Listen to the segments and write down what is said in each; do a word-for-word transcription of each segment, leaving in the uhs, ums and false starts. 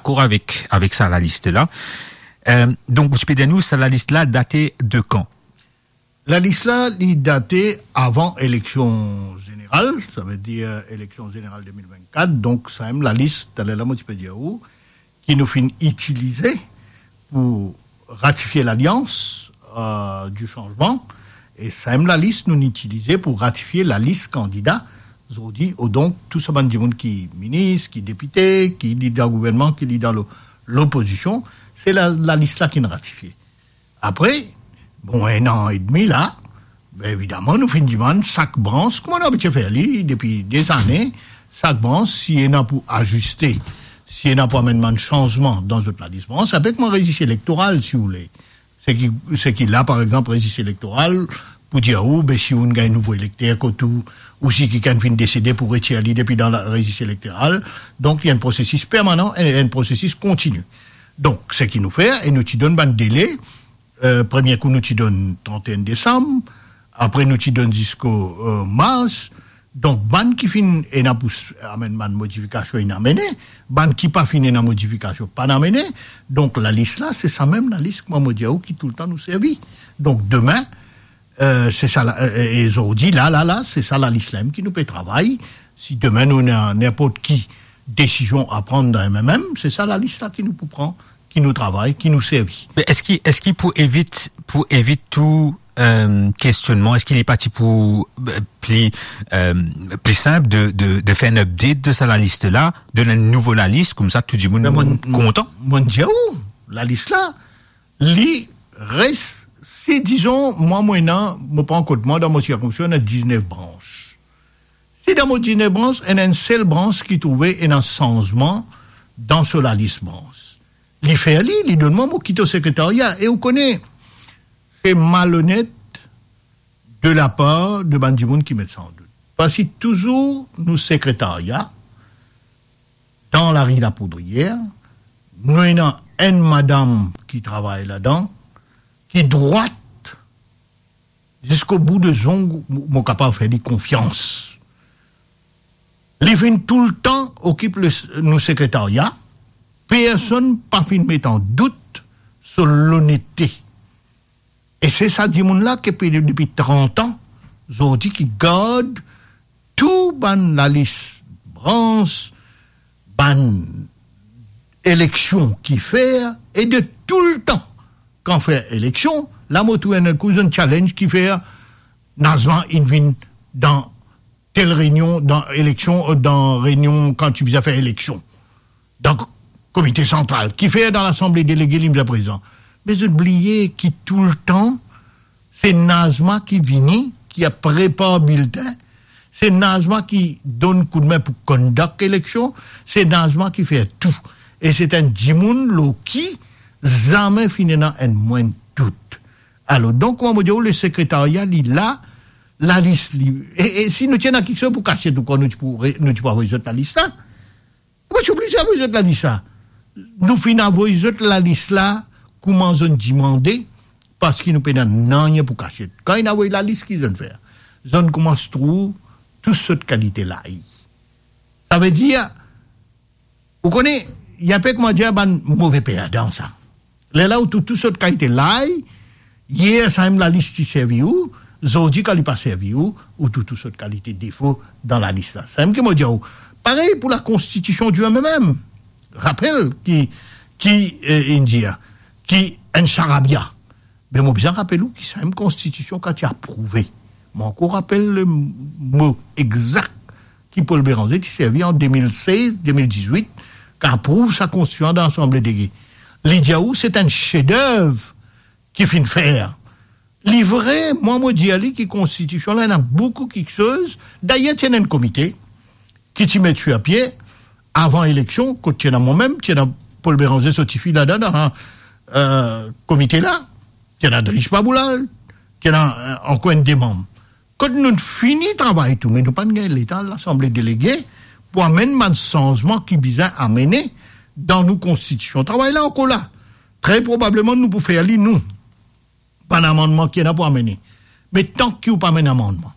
dakor avek, avek sa lalis la. Euh, donk, ou ti pe dir nou, sa lalis la date de kan? Lalis la, li date avan eleksion zeneral, savedir eleksion zeneral de mil vennkat. Donk, sa mem lalis, taler la, mo ti pe dir ou, ki nou finn itilize pou ratifie lalians, euh, di sanzman, e sa mem lalis nou itilize pou ratifie lalis kandida zordi, o donk, tou sa bann dimoun ki minis, ki depite, ki lider gouvernman, ki lider lo-, lopozision, se la, lalis la ki nou ratifie. Apre, bon, enn an edmi la, be, evidaman, nou finn dimann sak brans, kouma nou abitie fer li depi dezane, sak brans, si ena pou aziste, si ena pou amenn bann sanzman dan zot lalis brans, avek bann rezis elektoral, si ou le. Seki, seki la, par exanp, rezis elektoral, pou dir ou, be, si ou gagn nouvo elekter kot ou, ou si kikenn finn desede pou retir li depi dan la, rezis elektoral. Donk, li enn prosesis permanan, enn, enn prosesis kontini. Donk, seki nou fer, e nou ti donn bann dele, euh, premie kou nou ti donn trant-e-enn desam, apre nou ti donn ziska, euh, mars. Donk, bann ki finn ena pou s-, amenn bann modifikasion, inn amene, bann ki pa finn ena modifikasion, pa'nn amene. Donk, lalis la, se sa mem lalis, kouma mo dir ou, ki toultan nou servi. Donk, demin, euh, se sa la, euh, e zordi, la, la, la, se sa lalis la mem ki nou pe travay. Si demin nou ena ninport ki desizion a pran dan M M M, se sa lalis la ki nou pou pran, ki nou travay, ki nou servi. Me eski, eski pou evit, pou evit tou, euh, kestionnman, eski li pa ti pou, euh, pli, euh, pli sinp de, de, de fer enn update de sa lalis la, donn enn nouvo lalis, koumsa tou dimoun kontan? Me mo, mo dir ou, lalis la, li res, si dizon, mwa, mo ena, mo pran kot mwa, dan mo sirkonskripsion, ena diznef brans. Si dan mo diznef brans, ena enn sel brans ki trouve ena sanzman dan so lalis brans, li fer li, li donn mwa, mo kit o sekretaria. E ou kone, se malonet de lapar de bann dimoun ki met sa an dout. Parski touzour nou sekretaria, dan lari Lapoudriyer, nou ena enn madam ki travay ladan, ki drwat ziska bout de zong, mo, mo kapav fer li konfians. Li finn toultan okip le, nou sekretaria, personn pa finn met an dout so lonetete. E se sa dimoun la ki pe depi trant an, zordi ki gard tou bann lalis brans, bann eleksion ki fer, e de toultan, kan fer eleksion, la mo trouv enn kou zot challenge ki fer, Nazma inn vinn dan tel reynion, dan eleksion, dan reynion kan ti bizin fer eleksion. Dan komite santral, kifer dan Lasanble Delege li bizin prezan. Me zot bliye ki toultan, se Nazma ki vini, ki al prepar biltin, se Nazma ki donn koudme pou conduct eleksion, se Nazma ki fer tou. E se enn dimoun lor ki zame finn ena enn mwin dout. Alor, donk, kouma mo dir ou, le sekretaria, li la, lalis, li, e, e si nou ti ena kiksoz pou kasiet, ou krwar nou ti pou re-, nou ti pou avoy zot lalis la? Mo ti oblize avoy zot lalis la. Nou finn avoy zot lalis la, kouma zot dimande, parski nou pena nanye pou kasiet. Kan inn avoy lalis, ki zot fer? Zot koumans trouv tou sort kalite lay. Savedir, ou kone, li enpe kouma dir bann move perdan sa. Lerla ou trouv tou sort kalite lay, yer sa mem lalis ti servi ou, zordi kan li pa servi ou, ou trouv tou sort kalite defo dan lalis la. Samem ki mo dir ou, parey pou lakonstitision di M M M. Rapel ki, ki, eh, inn dir, ki enn sarabia. Me mo bizin rapel ou ki samem konstitision kan ti aprouve. Mo ankor rapel le mo exak ki Paul Bérenger ti servi an de mil sez, de mil dizwit, ki aprouv sa konstitision dan Lasanble Delege. Li dir ou se enn sedev ki finn fer. Li vre, mwa mo dir li ki konstitision la ena boukou kiksoz. Dayer ti ena enn komite ki ti met sir pie avan eleksion, kot ti ena mwa mem, ti ena Paul Bérenger so tifi ladan, dan, eh, komite la, ti ena Drish Baboulal, ti ena, eh, ankor enn de manm. Kot nou fini travay tou, me nou pa'nn gagn letan Lasanble Delege pou amenn bann sanzman ki bizin amene dan nou konstitision. Travay la ankor la. Tre probableman nou pou fer li nou. Bann amannman ki ena pou amene. Me tan ki ou pa amenn amannman,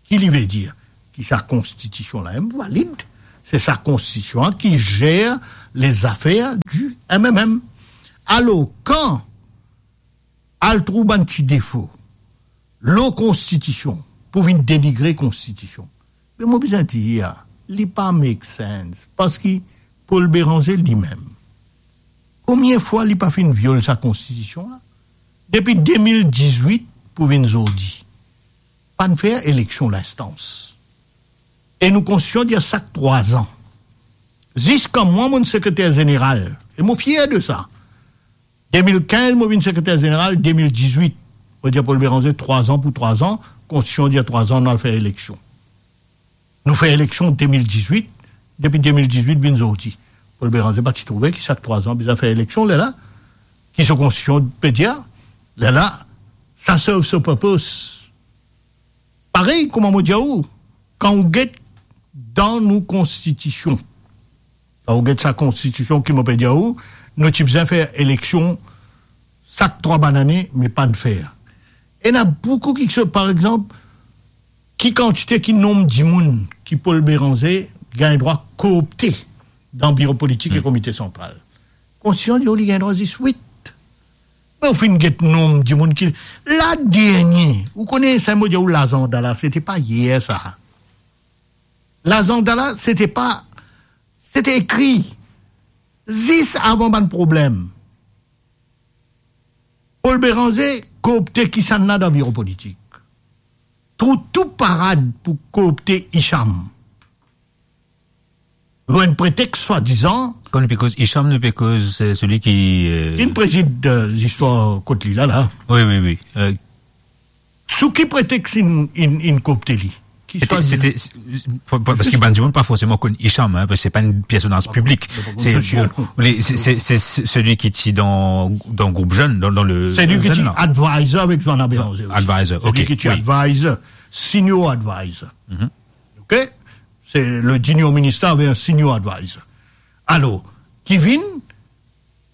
ki li ve dir? Ki sa konstitision la mem valid. Se sa konstitision la ki zer les affaires du M M M. Alor, kan al trouv bann ti defo lor konstitision pou vinn denigre konstitision, be mo bizin dir, li pa make sense, parski Paul Bérenger limem, konbien fwa li pa finn viol sa konstitision la? Depi de mil dizwit pou vinn zordi, pa'nn fer eleksion linstans. E nou konstitision dir sak trwa-z-an. Ziska mwa, mo'nn sekreter zeneral, e mo fier de sa. De mil kinz, mo vinn sekreter zeneral, de mil dizwit, mo dir Paul Bérenger, trwa-z-an pou trwa-z-an, konstitision dir trwa-z-an, nou al fer eleksion. Nou fer eleksion de mil dizwit, depi de mil dizwit vinn zordi, Paul Bérenger pa ti trouve ki sak trwa-z-an bizin fer eleksion, lerla, ki so konstitision pe dir, lerla, sa serve so purpose. Parey, kouma mo dir ou, kan ou get dan nou konstitision, kan ou get sa konstitision ki mo pe dir ou, nou ti bizin fer eleksion sak trwa bann ane, me pa'nn fer. Ena boukou kiksoz, par exanp, ki kantite, ki nonb dimoun ki Paul Bérenger gagn drwa koopte dan biro politik e komite santral. Konstitision dir ou li gagn drwa zis wit. Me ou finn get nonb dimoun ki, la dernie, ou kone sa mo dir ou, lazanda la, sete pa yer sa. Lazanda la, sete pa, sete ekri zis avan bann problem. Paul Bérenger koopte kisannla dan biro politik. Trouv tou parad pou koopte Hicham. Lor enn pretex swadizan. Kan nou pe koz Hicham, nou pe koz, eh, seli ki, eh, Ki'nn prezid, eh, zistwar kot li la, la. Wi, wi, wi. Eh, Sou ki pretex inn, inn, inn koopte li? Ki sete, swadizan. Sete, pa, pa, parski bann dimoun pa forseman konn Hicham, hein, parski se pa enn personaz piblik. Se, se, se, se seli ki ti dan, dan group zenn, dan, dan le zenn la. Se li ki ti advisor avek Joanna Bérenger osi. Advisor, ok, wi. Se li ki ti advisor, senior advisor. Mhm. Ok? Se le junior minister avek enn senior advisor. Alor, ki vinn,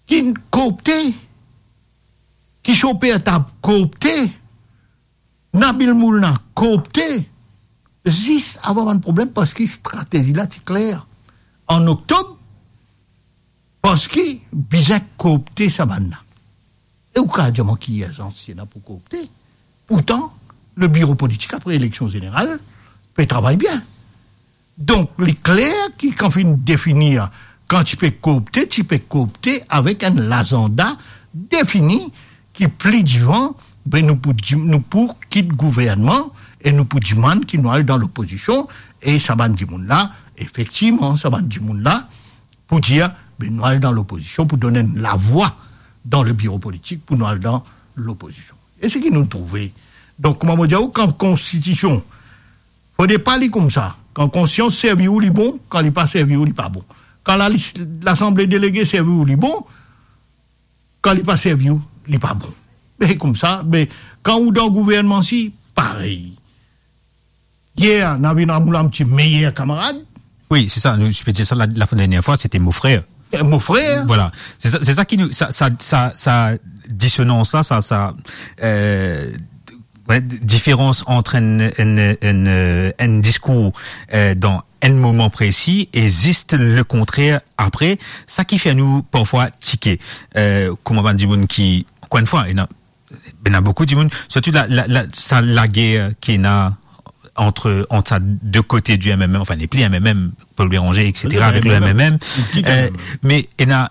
ki koopte, ki so per tab koopte, Nabil Moulna koopte, zis avan bann problem, parski stratezi la ti kler. An oktob, parski bizin koopte sa bann la. E ou kapav dir mwa ki irzans ena pou koopte? Pourtan, le biro politik apre eleksion zeneral pe travay bien. Donk, li kler ki kan finn definir, kan ti pe koopte, ti pe koopte avek enn lazanda defini ki pli divan, be nou pou di-, nou pou kit gouvernman e nou pou dimann ki nou al dan lopozision, e sa bann dimoun la, efektivman, sa bann dimoun la, pou dir, be nou al dan lopozision, pou donn enn lavwa dan le biro politik, pou nou al dan lopozision. E seki nou trouve. Donk, kouma mo dir ou, kan konstitision, fode pa li koumsa. Kan konstitision servi ou, li bon, kan li pa servi ou, li pa bon. Kan la, Lasanble Delege servi ou, li bon, kan li pa servi ou, li pa bon. Be koumsa, be, kan ou dan gouvernman si, parey. Yer, Navin Ramgoolam ti meyer kamarad. Wi, se sa, nou, je peux dire ça, la, la dernière fois, c'était mon frère. Eh, mon frère. Voilà. Se sa, se sa ki nou, sa, sa, sa, sa disonans la, sa, sa, euh, ouais, différence entre un, un, un, euh, un discours, euh, dans un moment précis et juste le contraire après, sa ki fer nou parfwa tike. Euh, kouma bann dimoun ki, encore une fois, ena, ena boukou dimoun, sirtou la, la, la, sa lager ki ena ant, ant sa de kote di M M M, enfin, nepli M M M, Paul Bérenger, et cetera, avek le M M M. Ki M M M? Euh, me ena,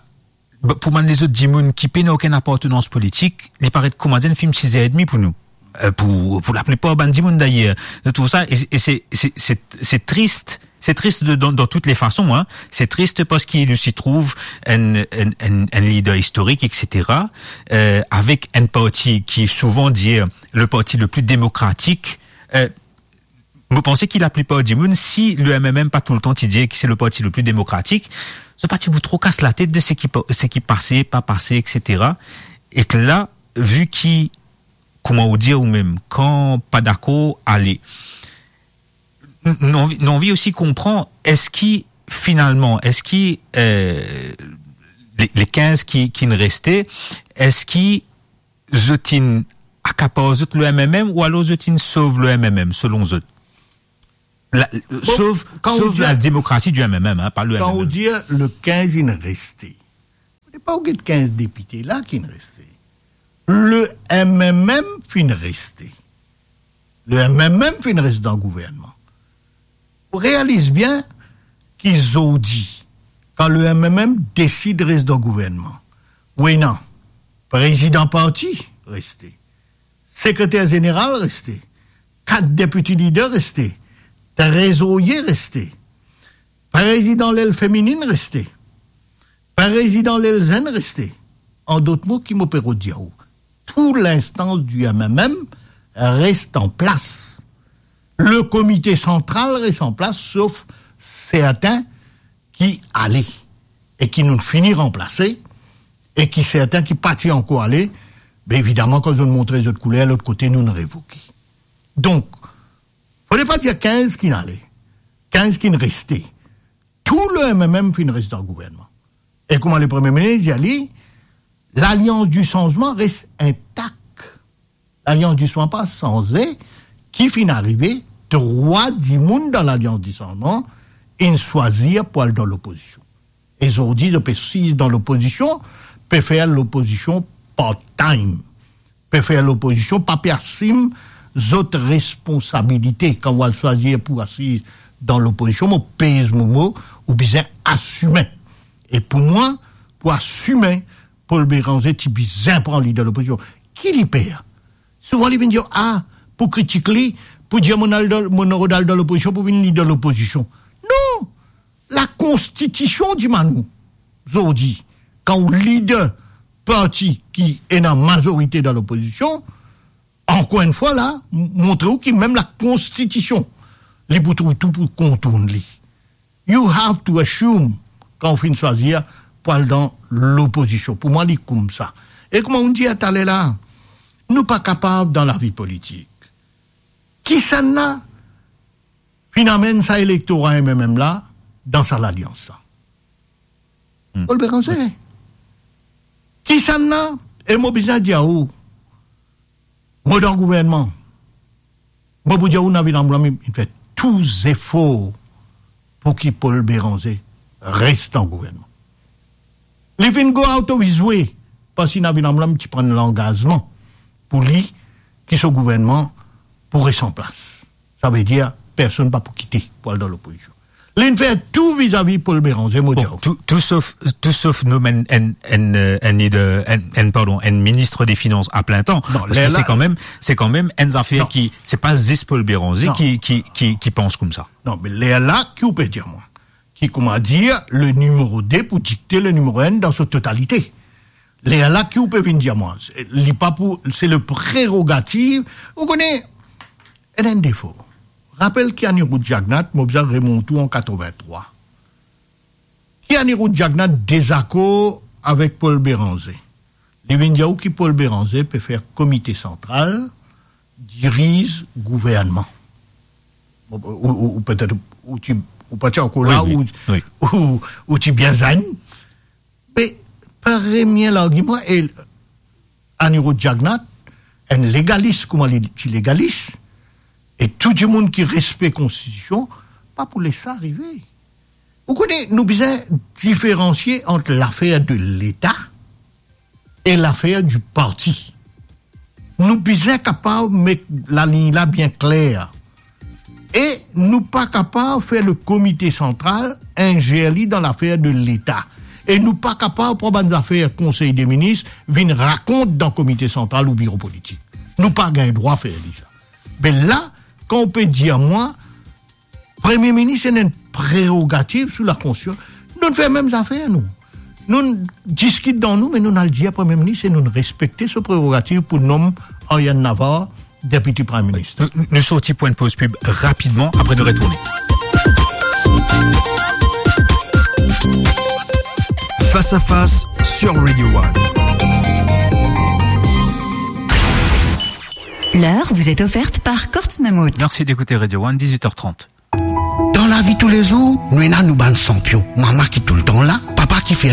pou bann lezot dimoun ki pena okenn apartenans politik, li paret kouma enn fim siz er edmi pou nou. Euh, pou, pou laplipar bann dimoun dayer. Nou trouv sa, e, e se, se, se, se tris, se tris de, dan, dan tout le fason, hein. Se tris parski nou ti trouv enn, enn, enn, enn lider istorik, et cetera, euh, avek enn parti ki souvan dir le parti le pli demokratik. Euh, mo panse ki laplipar dimoun, si le M M M pa toultan ti dir ki se le parti le pli demokratik, zot pa ti pou tro kas latet de seki pa, seki pase, pa pase, et cetera. Ek la, vi ki, kouma ou dir ou mem, kan pa dakor, ale. N-, nou anvi, nou anvi osi konpran, eski finalman, eski, euh, le, le kinz ki, ki finn reste, eski zot inn akapar zot le M M M ou alor zot inn sov le M M M, selon zot? La, bon, sof, kan ou sof dir, la demokrasi di M M M, hein, pa le kan M M M. Ou dir le kinz inn reste, fode pa ou get kinz depite la ki inn reste. Le M M M finn reste. Le M M M finn res dan gouvernman. Ou realiz bien ki zordi, kan le M M M desid res dan gouvernman, ou ena prezidan parti reste, sekreter zeneral reste, kat deputy leader reste, trezorye reste, prezidan lel feminin reste, prezidan lel zenn reste. An dot mo, ki mo pe rod dir ou, tou linstans di M M M res an plas. Le komite santral res an plas, sof sertin ki ale e ki nou fini ranplase, e ki sertin ki pa ti ankor ale, be evidaman, kan zot montre zot kouler lot kote, nou revoke. Donk, fode pa dir kinz ki'nn ale, kinz ki'nn reste. Tou le M M M finn res dan gouvernman. E kouma le Premie Minis dir li, Lalians di Sanzman res intak. Lalians di Sanzman pa sanze. Ki finn arive, trwa dimoun dan Lalians di Sanzman inn swazir pou al dan lopozision. E zordi zot pe siz dan lopozision, pe fer lopozision part-time, pe fer lopozision, pa pe asim zot responsabilite. Kan ou al swazir pou asiz dan lopozision, mo pez mo mo, ou bizin asime. E pou mwa, pou asime, Paul Bérenger ti bizin pran lider lopozision. Ki li per? Souvan li vinn dir, ah, pou kritik li, pou dir mo al dan, mo rod al dan lopozision, pou vinn lider lopozision. Non! Lakonstitision dimann nou zordi, kan ou lider parti ki ena mazorite dan lopozision, ankor enn fwa la, m-, montre ou ki mem Lakonstitision, li pou trouv tou pou kontourn li. You have to assume, kan ou finn swazir pou al dan lopozision. Pou mwa, li koumsa. E kouma ou dir taler la, nou pa kapav dan lavi politik. Kisannla finn amenn sa elektora M M M la dan sa lalians la? Hmm. Paul Bérenger. Wi. Kisannla, e mo bizin dir ou, mo dan gouvernman, mo pou dir ou, Navin Amlwam inn fer tou zefor pou ki Paul Bérenger res dan gouvernman. Li finn go out of his way, parski Navin Amlwam ti pran langazman pou li ki so gouvernman pou res an plas. Savedir, personn pa pou kite pou al dan lopozision. Li'nn fer tou vizavi Paul Bérenger, mo dir ou. Bon, tou, tou sof, tou sof nomenn enn, enn, euh, enn lider, enn, enn, pardon, enn minis de finans a plin tan. Non, parski ler la, se kanmem, se kanmem enn zafer, non, ki, se pa zis Paul Bérenger, non, ki, ki, ki, ki pans koumsa. Non, me ler la, ki ou pe dir mwa? Ki, kouma dir, le nimero de pou dikte le nimero enn dan so totalite. Ler la, ki ou pe vinn dir mwa? Se, li pa pou, se le prerogativ. Ou kone, ena enn defo. Rapel ki Anirudh Jagannath, mo bizin remont ou an katrovin-trwa. Ki Anirudh Jagannath dezakor avek Paul Bérenger. Li vinn dir ou ki Paul Bérenger pe fer komite santral, diriz gouvernman. Ou, ou, ou, ou petet ou ti, ou pa ti ankor la, wi, wi, ou, wi, ou, ou ti bien zenn. Me premie largiman, e Anirudh Jagannath, enn legalis kouma li ti legalis, e tou dimoun ki respekte konstitision, pa pou les sa arive. Ou kone, nou bizin diferansie ant lafer de Leta e lafer di parti. Nou bizin kapav met laliny la bien kler. E nou pa kapav fer le komite santral inzer li dan lafer de Leta. E nou pa kapav pran bann zafer Konsey de Minis, vinn rakont dan komite santral ou biro politik. Nou pa gagn drwa fer li sa. Be la, kan ou pe dir mwa, Premie Minis ena enn prerogativ sou lakonstitision. Nou'nn fer mem zafer, nou. Nou'nn diskit dan nou, me nou'nn al dir Premie Minis e nou'nn respekte so prerogativ pou nom Aryan Navar Deputy Prime Minister. Nou, nou sorti pou enn poz pib rapidman, apre nou retourne. Face à face sur Radio One. L'heure vous est offerte par Courts Mammouth. Merci d'écouter Radio One, dix-huit heures trente. Dan lavi toulezour, nou ena nou bann sanpion. Mama ki toultan la, papa ki fer